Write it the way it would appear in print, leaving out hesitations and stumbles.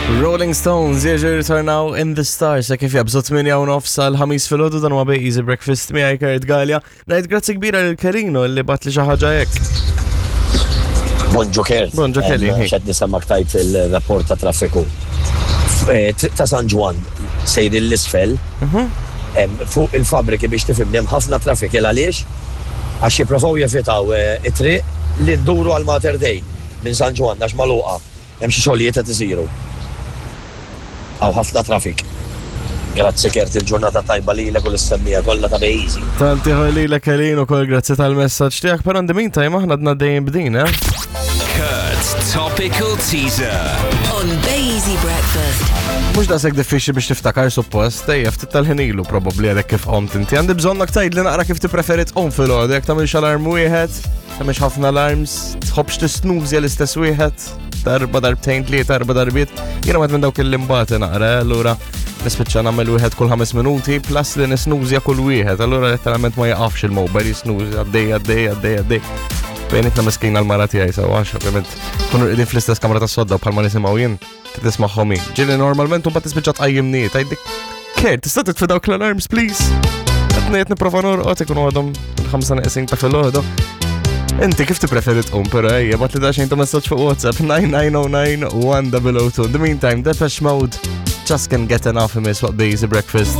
Rolling Stones jerġgħu jirritornaw in the stars sa kif jabżu 8 u nofs għal ħamis filgħodu dan huwa Bay Easy Breakfast miegħi Kurt Gallia. Ngħid grazzi kbira lil Kerino li bat li xi ħaġa hekk. Bonġu Kurt. Bonġu Kelly. Xed nisemmak tajt il-rapport ta' traffiku. Eh, triq ta' San Ġwann sejrin l-isfel mhm. fuq il-fabriki biex tifhimni hemm ħafna traffic il għaliex għax jipprovaw jevitaw eh, it-triq li nduru għal Mater Dei minn San Ġwann għax magħluqa. Hemm xi xogħlijiet qed isiru. Hawn ħafna traffic. Grazzi Kurt il-ġurnata tajba lilek u lis-semmiegħa kollha ta' Bejzi. Tant ieħor lilek Elin ukoll grazzi tal-messaġġ tiegħek, però in the meantime aħna għadna dejjem b'din, eh? Kurt's Topical Teaser. On Bay Easy Breakfast. Mhux daqshekk diffiċli biex tiftakar suppost, ejja ftit tal-ħin ilu probabbli għadek kif qomt inti. Għandi bżonnok tgħidli naqra kif tippreferi tqum filgħodu, jekk tagħmilx alarm wieħed, tagħmilx ħafna alarms, tħobbx tisnużja l-istess wieħed, darba darbtejn tlieta erba' darbiet. Jiena wieħed minn dawk il-limbati naqra, allura nispiċċa nagħmel wieħed kull ħames minuti plus li nisnużja kull wieħed, allura letteralment ma jaqafx il-mobile jisnużja għaddej għaddej għaddej għaddej. Bejnitna miskina l-mara tiegħi sewa għax ovvjament kunu qegħdin fl-istess kamra tas-sodda bħalma nisimgħu jien. Tismagħhom hi. Ġieli normalment u mbagħad tispiċċa tqajjimni, tgħidli Kert, tista' titfi dawk l-alarms, please? Qed ngħid nipprova norqod ikunu għadhom il-ħamsa neqsin ta' filgħodu. Inti kif tippreferi tqum, però ejja, bat li daxxejn ta' messaġġ fuq WhatsApp 9909 1002. In the meantime, Depeche Mode just can get enough imiss waqt Easy Breakfast.